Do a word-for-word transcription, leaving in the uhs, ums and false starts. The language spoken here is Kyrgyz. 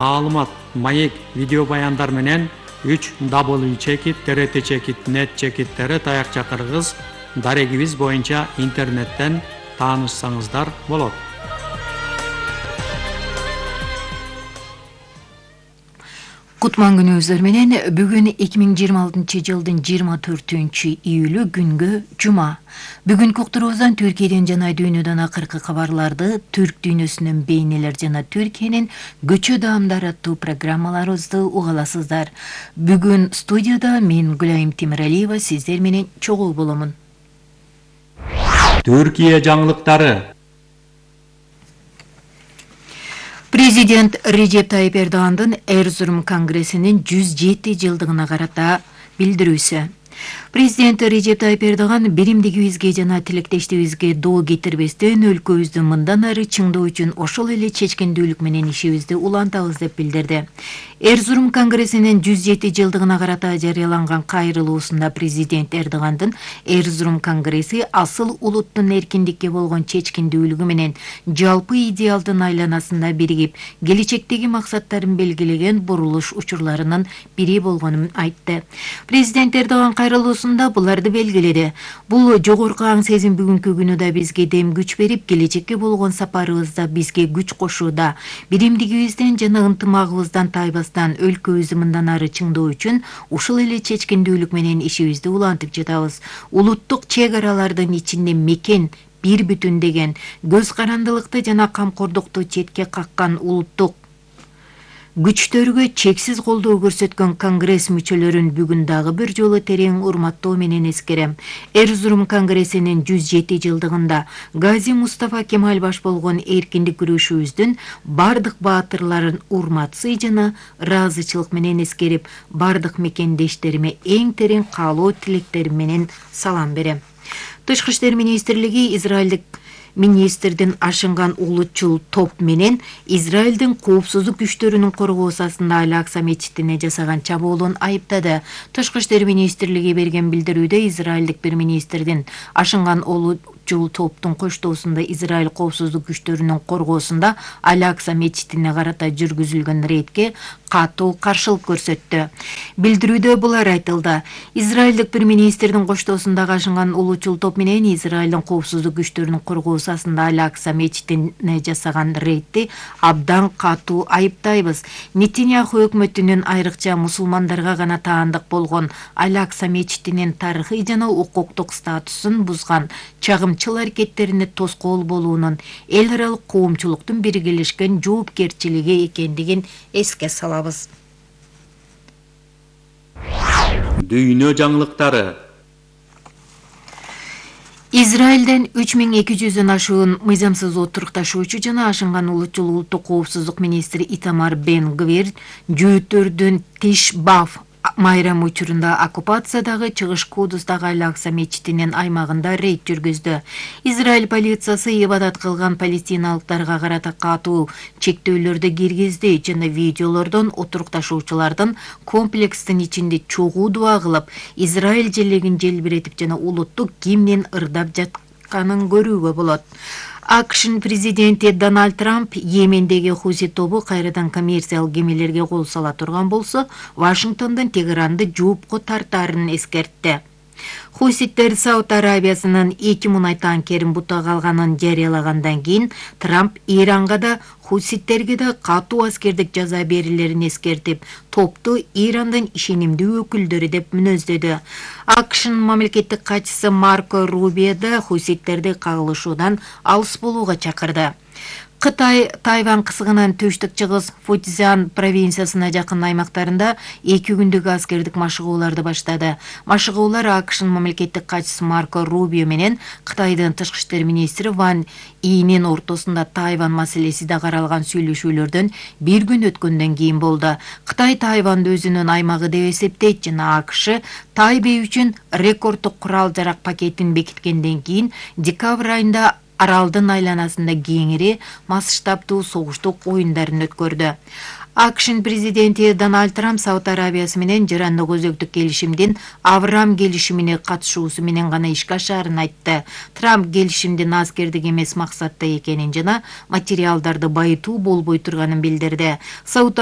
Маалымат, маек, видео баяндар менен үч дабл ю чекит т р т чекит нет чекит т р таякча кыргыз дарегибиз боюнча интернеттен таанышсаңыздар болот. Кутман күнүңүздөр менен бүгүн эки миң жыйырма алтынчы жылдын жыйырма төртүнчү июлү күнгө жума. Бүгүнкү уктуруубуздан Түркияден жана дүйнөдөн акыркы кабарларды, түрк дүйнөсүнөн бейнелер жана Түркиянын көчө даамдары аттуу программаларыбызды уга аласыздар. Бүгүн студияда мен Гүлайым Темиралиева сиздер менен чогуу боломун. Түркия жаңылыктары. Президент Режеп Тайип Эрдогандын Эрзурум конгрессинин жүз жети жылдыгына карата билдирүүсү. Президент Режеп Тайип Эрдоган биримдигибизге жана тилектештигибизге доо кетирбестен өлкөбүздү мындан ары чыңдоо үчүн ошол эле чечкиндүүлүк менен ишибизди улантабыз деп билдирди. Эрзурум конгрессинин жүз жети жылдыгына карата жарыяланган кайрылуусунда президент Эрдогандын Эрзурум конгресси асыл улуттун эркиндикке болгон чечкиндүүлүгү менен жалпы идеалдын айланасында биригип, келечектеги максаттарын белгилеген бурулуш учурларынын бири болгонун айтты. Президент Эрдоган кайрылуусунда буларды белгиледи. Бул жогорку аң сезим бүгүнкү күнү да бизге дем күч берип, келечекке болгон сапарыбызда бизге күч кошууда. Биримдигибизден жана ынтымагыбыздан тайбастан өлкөбүздү мындан ары чыңдоо үчүн ушул эле чечкиндүүлүк менен ишибизди улантып жатабыз. Улуттук чек аралардын ичинде мекен бир бүтүн деген көз карандылыкты жана камкордукту четке каккан улуттук күчтөргө чексиз колдоо көрсөткөн конгресс мүчөлөрүн бүгүн дагы бир жолу терең урматтоо менен эскерем. Эрзурум конгрессинин жүз жети жылдыгында Гази Мустафа Кемаль баш болгон эркиндик күрөшүбүздүн бардык баатырларын урматсый жана ыраазычылык менен эскерип, бардык мекендештериме эң терең каалоо тилектерим менен салам берем. Тышкы иштер министрлиги Израилдик министрдин ашынган улутчул топ менен Израилдин коопсуздук күчтөрүнүн коргоосасында Аль-Акса мечитине жасаган чабуулун айыптады. Тышкы иштер министрлиги берген билдирүүдө Израилдик бир министрдин ашынган улутчул топтун коштоосунда Израиль коопсуздук күчтөрүнүн коргоосунда Аль-Акса мечитине карата жүргүзүлгөн рейдке катуу каршылык көрсөттү. Билдирүүдө булар айтылды. Израилдик бир министрдин коштоосундагы ашынган улутчул топ менен Израилдин коопсуздук күчтөрүнүн коргоосасында Аль-Акса мечитине жасаган рейдти абдан катуу айыптайбыз. Нетиньяху өкмөтүнүн айрыкча мусулмандарга гана таандык болгон Аль-Акса мечитинин тарыхый жана укуктук статусун бузган чагымчыл аракеттерине тоскоол болуунун эл аралык коомчулуктун биргелешкен жоопкерчилиги экендигин эске салабыз. Дүйнө жаңылыктары. Израилден үч миң эки жүздөн ашуун мыйзамсыз отурукташуучу жана ашынган улутчул улуттук коопсуздук министри Итамар Бен Гвир жөөттөрдүн Тиш-Бав майрам учурунда оккупациядагы Чыгыш Кудустагы Аль-Акса мечитинин аймагында рейд жүргүздү. Израиль полициясы ибадат кылган палестиналыктарга карата катуу чектөөлөрдү киргизди жана видеолордон отурукташуучулардын комплекстин ичинде чогуу дуа кылып, Израиль желегин желбиретип жана улуттук гимнин ырдап жатканын көрүүгө болот. АКШнын президенти Дональд Трамп Йемендеги Хуси тобу кайрадан коммерциялык кемелерге кол сала турган болсо, Вашингтондон Тегеранды жоопко тартаарын эскертти. Хуситтер Сауд Арабиясынын эки мунай танкерин бутага алганын жарыялагандан кийин Трамп Иранга да хуситтерге да катуу аскердик жаза берилерин эскертип, топту Ирандын ишенимдүү өкүлдөрү деп мүнөздөдү. АКШнын мамлекеттик катчысы Марко Рубио да хуситтерди кагылышуудан алыс болууга чакырды. Кытай Тайвань кысыгынын түштүк-чыгыс Фуцзян провинциясына жакын аймактарында эки күндүк аскердик машыгууларды баштады. Машыгуулар АКШнын мамлекеттик катчысы Марко Рубио менен Кытайдын тышкы иштер министри Ван Ийнин ортосунда Тайвань маселеси да каралган сүйлөшүүлөрдөн бир күн өткөндөн кийин болду. Кытай Тайваньды өзүнүн аймагы деп эсептейт жана АКШ Тайбэй үчүн рекорддук курал-жарак пакетин бекиткенден кийин декабрь айында аралдын айланасында кеңири масштабдуу согуштук оюндарын өткөрдү. АКШнын президенти Дональд Трамп Сауд Арабиясы менен жарандык өзөктүк келишимдин Авраам келишимине катышуусу менен гана ишке ашаарын айтты. Трамп келишимдин аскердик эмес максатта экенин жана материалдарды байытуу болбой турганын билдирди. Сауд